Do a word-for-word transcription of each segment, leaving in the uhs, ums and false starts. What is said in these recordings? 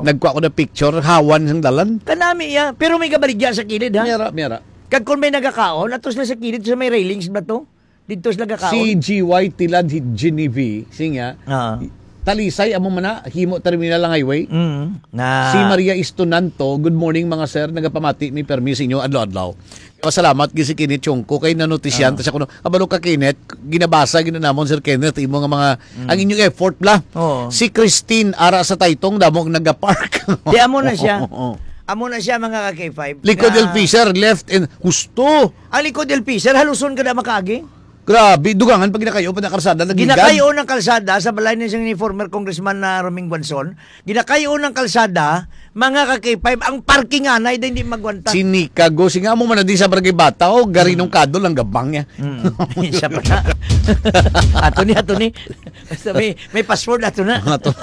Nagkuha ko na picture, hawan sang dalan. Kanami iya, pero may kabaligya sa kilid, ha? Miyara, miyara. Kag kung may nagakaon, atos na sa kilid sa may railings ba to? Dito sila gakaon? Si G Y Tilad hi-, Genevieve, siya nga, Ah. Talisay, amo man na, himo terminal ang highway. Mm, na Si Maria Istonanto, "Good morning, mga sir. Nagapamati mi permi sa inyo adlaw-adlaw." Pasalamat gid si Kenneth Chongco kay nanotisyan Ah. ta siya kuno. Kabalo ka, Kenneth, ginabasa gid namon, Sir Kenneth, imo nga mga, Mm. ang inyong effort, bla. Oo. Si Christine, ara sa Taytong, damo ang nagapark. Di, amo na siya. Oo, oo. Amo na siya, mga ka-K five, Likod nga L P, sir, left and husto. Ang Likod L P, sir, haluson ka na makaagi. Grabe, dugangan pag ginakayo pa na karsada, nagigan. Ginakayo ng kalsada sa balay ni, ni former Congressman na Roming Guanzon. Ginakayo ng kalsada, mga ka-K five, ang parking anay din di magwanta. Sinikago, singa mo man na di sa Barangay Bata, o Garinong Mm. Kadol, ang gabang niya. Mm. Siya pa na. Ato ni, ato ni. Basta may, may password, ato na. Ato.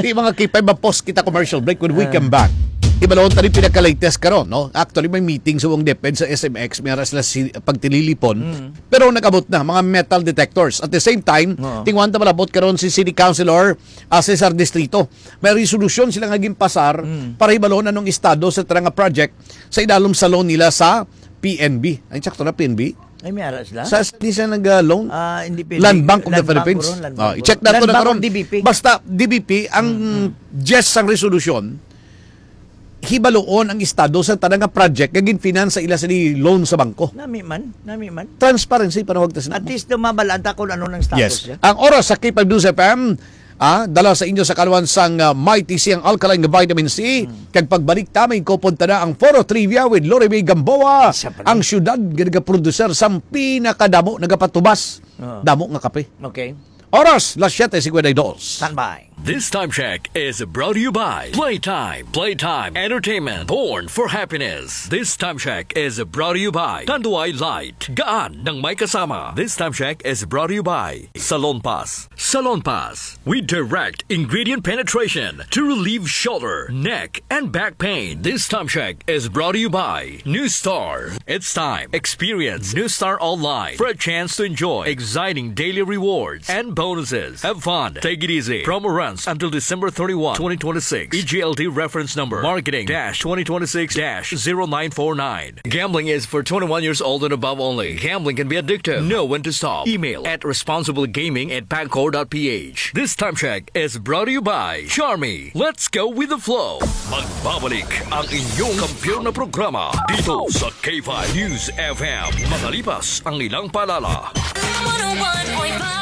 Di, mga K five, ma-pause kita commercial break. When we Ah. come back, ibalon tayo pinaka-latest karon, no? Actually, may meeting sa wong DepEd sa S M X, may aras sila si, pagtililipon. Mm. Pero nag-abot na, mga metal detectors. At the same time, Oo. tingwan ta malabot karon si City Councilor, ah, Cesar Distrito. May resolusyon sila nga ginpasar Mm. para hibalon anong estado sa tara nga project sa idalom sa loan nila sa P N B. Ay, sakto na, P N B? Ay, may ara sila? Sa, di siya nag, ah, loan? Ah, hindi pwede. Land Bank of the Land Bank Philippines. Ron, Land Ah, Bank i-check ron. Nato Land na Bank karon. Or D B P? Basta, D B P, ang Mm, mm. gist sang resolusyon, hibaluon ang estado sa tanan nga project nga ginfinance sa ila sa di loan sa bangko. Nami man, nami man. Transparency, panawag ta sina. At least, mabalaan ta kung ano nang status Yes. niya. Ang oras sa K five News F M, ah, dala sa inyo sa kaluan sang, ah, Mighty C, ang alkaline nga vitamin C. Hmm. Kag pagbalik ta, may kupon ta na ang Foro Trivia with Lori May Gamboa. Isa pa rin. Ang siyudad nga nagaproduser sang pinakadamo, nagapatubas. Oo. Damo nga kape. Okay. Oras, las siete cincuenta y dos. Standby. This time check is brought to you by Playtime. Playtime Entertainment. Born for happiness. This time check is brought to you by Tanduay Light. Gaan ng may kasama. This time check is brought to you by Salon Pass. Salon Pass. We direct ingredient penetration to relieve shoulder, neck, and back pain. This time check is brought to you by New Star. It's time. Experience New Star Online for a chance to enjoy exciting daily rewards and bonuses. Have fun. Take it easy. Promo runs until December thirty-one, twenty twenty-six. E G L T reference number marketing dash twenty twenty-six dash zero nine four nine. Gambling is for twenty-one years old and above only. Gambling can be addictive. Know when to stop. Email at responsiblegaming at pagcor dot P H. This time check is brought to you by Charmy. Let's go with the flow. Magbabalik ang inyong kampiyon na programa dito sa K five News F M. Makalipas ang ilang paalala. One oh one point five.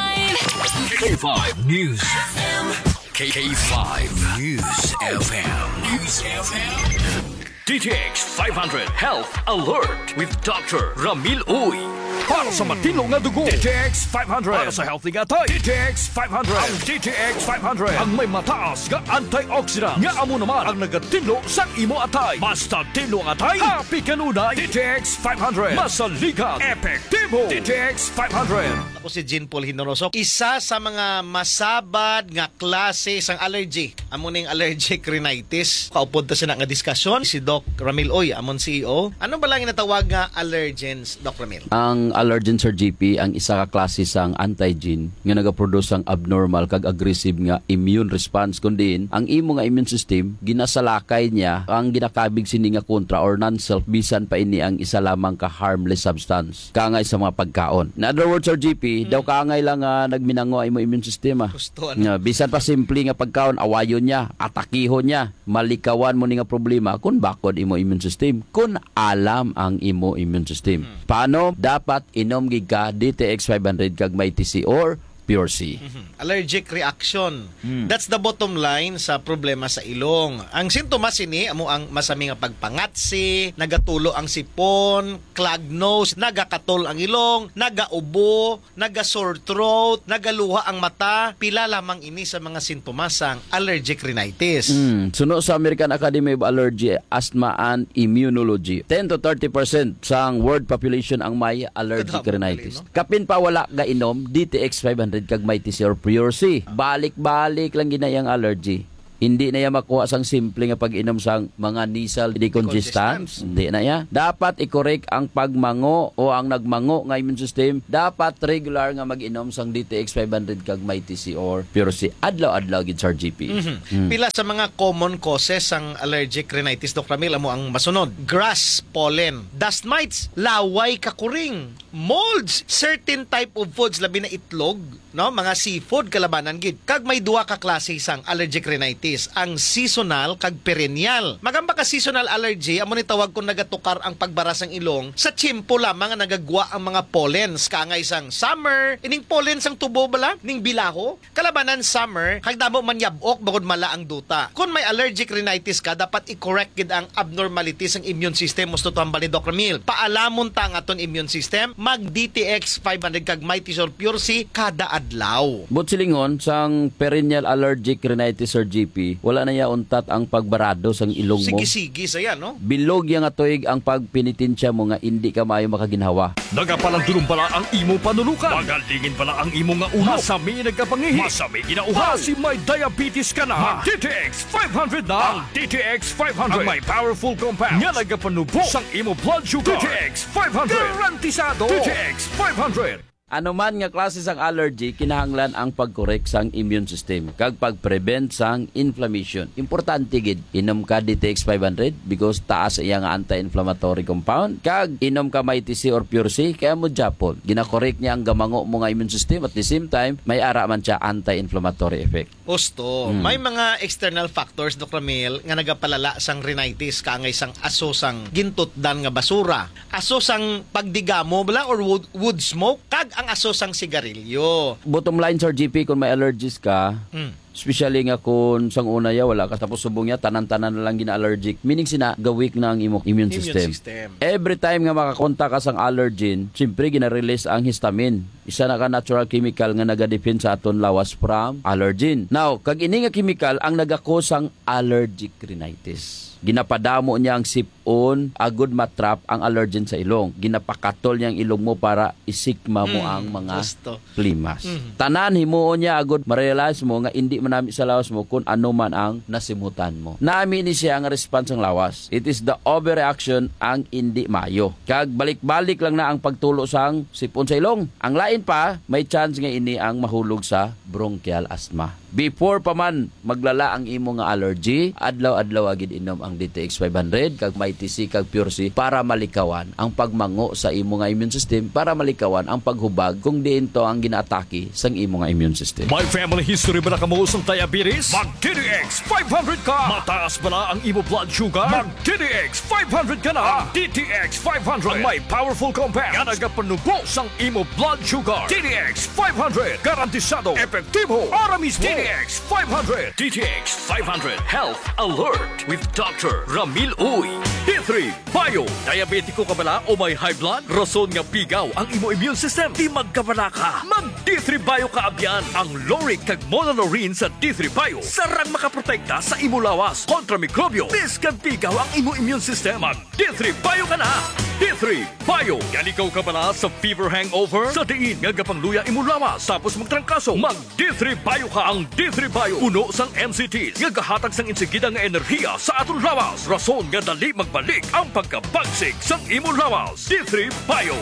K five News F M. K five News F M. News F M. D T X five hundred Health Alert with Doctor Ramil Uy. Para sa matinlo nga dugo, D T X five hundred. Para sa healthy nga atay, D T X five hundred. Ang D T X five hundred ang may mataas nga antioxidant nga amo naman ang nagatinlo sang imo atay. Basta tinlo ang atay, happy kanunay. D T X five hundred. Masaligan, epektibo. D T X five hundred. Ako si Jean Paul Hinoroso. Isa sa mga masabad nga klase sang allergy, amo ning allergic rhinitis. Kaupod ta sina nga diskusyon si Doc Ramil Uy, amon C E O. Ano ba lang ginatawag nga allergens, Doc Ramil? Ang allergen, Sir G P, ang isa ka klase sang antigen nga nagaproduce sang abnormal kag aggressive nga immune response, kun diin ang imo nga immune system, ginasalakay niya ang ginakabig sini nga kontra or non-self, bisan pa ini ang isa lamang ka harmless substance, kaangay sa mga pagkaon. In other words, Sir G P, Mm. daw kaangay lang nga nagminango ang imo immune system, ah. Gusto, ano? Nga, bisan pa simple nga pagkaon, awayon niya, atakihon niya, malikawan mo ni nga problema kung bakod imo immune system, kung alam ang imo immune system. Hmm. Paano? Dapat inom gid ka D T X five hundred kag Mighty C or Pure C. Mhm. Allergic reaction. Hmm. That's the bottom line sa problema sa ilong. Ang sintomas sini amo ang masami nga pagpangatsi, nagatulo ang sipon, clog nose, nagakatol ang ilong, nagaubo, naga-sore throat, nagaluha ang mata, pila lamang ini sa mga sintomas sang allergic rhinitis. Mm. Suno sa American Academy of Allergy, Asthma and Immunology, ten to thirty percent sang world population ang may allergic Kadamo rhinitis. Gali, no? Kapin pa wala gainom D T X five hundred kag Mighty C or Pure C. Balik-balik lang gid na iyang allergy. Hindi na iya makuha sang simple nga pag-inom sang mga nasal decongestants. Decongestants. Hindi na iya. Dapat i-correct ang pagmango o ang nagmango nga immune system. Dapat regular nga mag-inom sang D T X five hundred kag Mighty C or Pure C adlaw-adlaw gid, Sir G P. Mhm. Mm. Pila sa mga common causes sang allergic rhinitis, Doc Ramil, amo ang masunod. Grass pollen, dust mites, laway, kakuring, molds, certain type of foods, labi na itlog, no? Mga seafood, kalabanan gid. Kag may duha ka klase sang allergic rhinitis, ang seasonal kag perennial. Magamba ka seasonal allergy, amo ni tawag kung nagatukar ang pagbara sang ilong sa tiyempo lamang nga nagagwa ang mga pollens, kaangay sang summer, ining pollen sang tubo bala, ning bilaho, kalabanan summer, kag damo man yab-ok bangod mala ang duta. Kon may allergic rhinitis ka, dapat i-correct gid ang abnormality sang immune system, husto to hambal ni Doc Ramil. Paalamon ta ang aton immune system, mag D T X five hundred kag Mighty C or Pure C kada adlaw. But silingon, sang perennial allergic rhinitis, Sir G P, wala na iya untat ang pagbarado sang ilong mo. Sige-sige sa iya, no? Bilog iya nga tuig ang pagpenitensya mo nga indi ka maayo makaginhawa. Nagapalandulong bala ang imo panulukan? Magalingin bala ang imo nga ulo? Masami nagkapangihi? Masami ginauhaw? Basi may diabetes ka na? Mag D T X five hundred na! Ang D T X five hundred ang may powerful compound nga nagapanubo sang imo blood sugar. D T X five hundred. Garantisado! D T X five hundred. Ano man nga klase sang allergy, kinahanglan ang pag-correct sang immune system kag pag-prevent sang inflammation. Importante gid, inom ka D T X five hundred because taas iya nga anti-inflammatory compound, kag inom ka Mighty C or Pure C, kaya mo japon, gina-correct niya ang gamango mo nga immune system, at the same time, may ara man siya anti-inflammatory effect. Husto. Mm. May mga external factors, Doc Ramil, nga nagapalala sang rhinitis, kaangay sang aso sang gintutdan nga basura, aso sang pagdigamo bala or wood, wood smoke, kag ang aso sang sigarilyo. Bottom line, Sir G P, kung may allergies ka, Mm. especially nga kung sang una ya wala ka, tapos subong ya tanan-tanan na lang gina-allergic, meaning sina, ga-weak na ang imo immune Immune system. system. Every time nga makakontak ka sang allergen, siyempre gina-release ang histamine. Isa na ka natural chemical nga nagadefend sa aton lawas from allergen. Now, kag ini nga chemical ang nagakos sang allergic rhinitis. Ginapadamo niya ang sip-on agud matrap ang allergen sa ilong. Ginapakatol niya ang ilong mo para isikma mo Mm, ang mga husto. plimas. Mhm. Tanan himuon niya agud ma-realize mo nga indi manami sa lawas mo kung ano man ang nasimutan mo. Nami ni siya ang response sang lawas. It is the overreaction ang indi maayo. Kag balik-balik lang na ang pagtulo sang sip-on sa ilong. Ang lain pa, may chance nga ini ang mahulog sa bronchial asthma. Before pa man maglala ang imo nga allergy, adlaw-adlaw gid inom ang D T X five hundred kag Mighty C kag Pure C para malikawan ang pagmango sa imo nga immune system, para malikawan ang paghubag kung diin to ang ginaatake sang imo nga immune system. May family history ba na kamo sang diabetes? Mag D T X five hundred ka! Mataas ba na ang imo blood sugar? Mag D T X five hundred ka na! Ang D T X five hundred ang may powerful compound nga nagapanubo sang imo blood sugar. D T X five hundred, garantisado, epektibo, ara mismo. D T X five hundred. D T X five hundred Health Alert with Doctor Ramil Uy. D three Bio. Diabetiko ka bala o may high blood? Rason nga pigaw ang imo immune system. Di magkabala ka. Mag D three Bio ka abyan. Ang lauric kag monolaurin sa D three Bio sarang makaprotekta sa imo lawas kontra mikrobyo. Bisan pigaw ang imo immune system, mag D three Bio ka na. D three Bio. Nalikaw ka bala sa fever hangover? Sa diin nga gapangluya imo lawas tapos magtrangkaso? Mag D three Bio ka. Ang D three Bio puno sang M C Ts nga gahatag sang insigida nga enerhiya sa aton lawas, rason nga dali magbalik ang pagkabagsik sang imo lawas. D three Bio.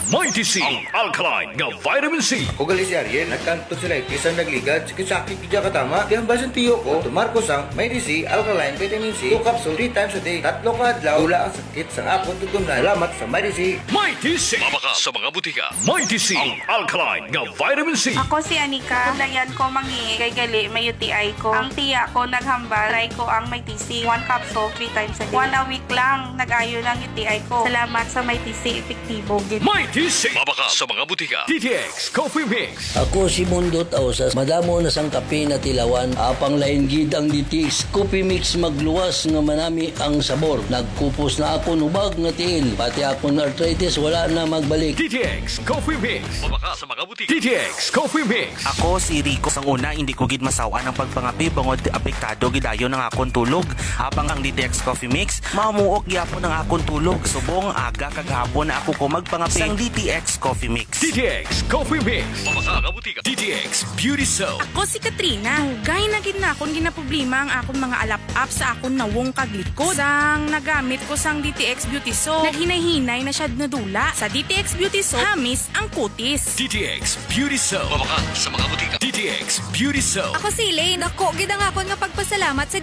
Mighty C, ang alkaline nga vitamin C. Ako gali si Ariel, nagka-tonsillitis ang nagligad, sakit-sakit gid katama. Di hambal sang tiyo ko, tumar ko sang Mighty C alkaline vitamin C, two capsule, three times a day. Tatlo ka adlaw, wala ang sakit sang akon tutunlan. Salamat sa Mighty C. Mighty C. Mabakal sa mga butika. Mighty C, ang alkaline nga vitamin C. Ako si Anika. Dayan ko mangi kay gali may U T I ko. Ang tiya ko naghambal, try ko ang Mighty C. One capsule, three times a day. One a week lang, nag-ayo na ang U T I ko. Salamat sa Mighty C, epektibo gid. Mighty C. Mabakal sa mga butika. D T X Coffee Mix. Ako si Mundo Tausas. Madamo na sang kape natilawan. Apang lain gid ang D T X Coffee Mix, magluwas nga manami ang sabor. Nagkupos na akon hubag nga tiil. Pati akon arthritis wala na magbalik. D T X Coffee Mix. Mabakal sa mga butika. D T X Coffee Mix. Ako si Rico. Sang una, hindi ko gid masaw-an ang pagpangape bangod apektado gid dayon ang akon tulog. Apang ang D T X Coffee Mix, mamuok gyapon ang akon tulog. Subong aga kag hapon na ako ko magpangape. Sang D T X Coffee Mix. D T X Coffee Mix. Mabaka nga butika. D T X Beauty Soap. Ako si Katrina. Dugay na gid na akon ginaproblema ang akon mga alap-ap sa akon nawong kag likod. Sang nagamit ko sang D T X Beauty Soap, naghinay-hinay na siya nadula. Sa D T X Beauty Soap, hamis ang kutis. D T X Beauty Soap. Mabaka sa mga butika. D T X Beauty Soap. Ako si Elaine. Dako gid ang akon nga pagpasalamat sa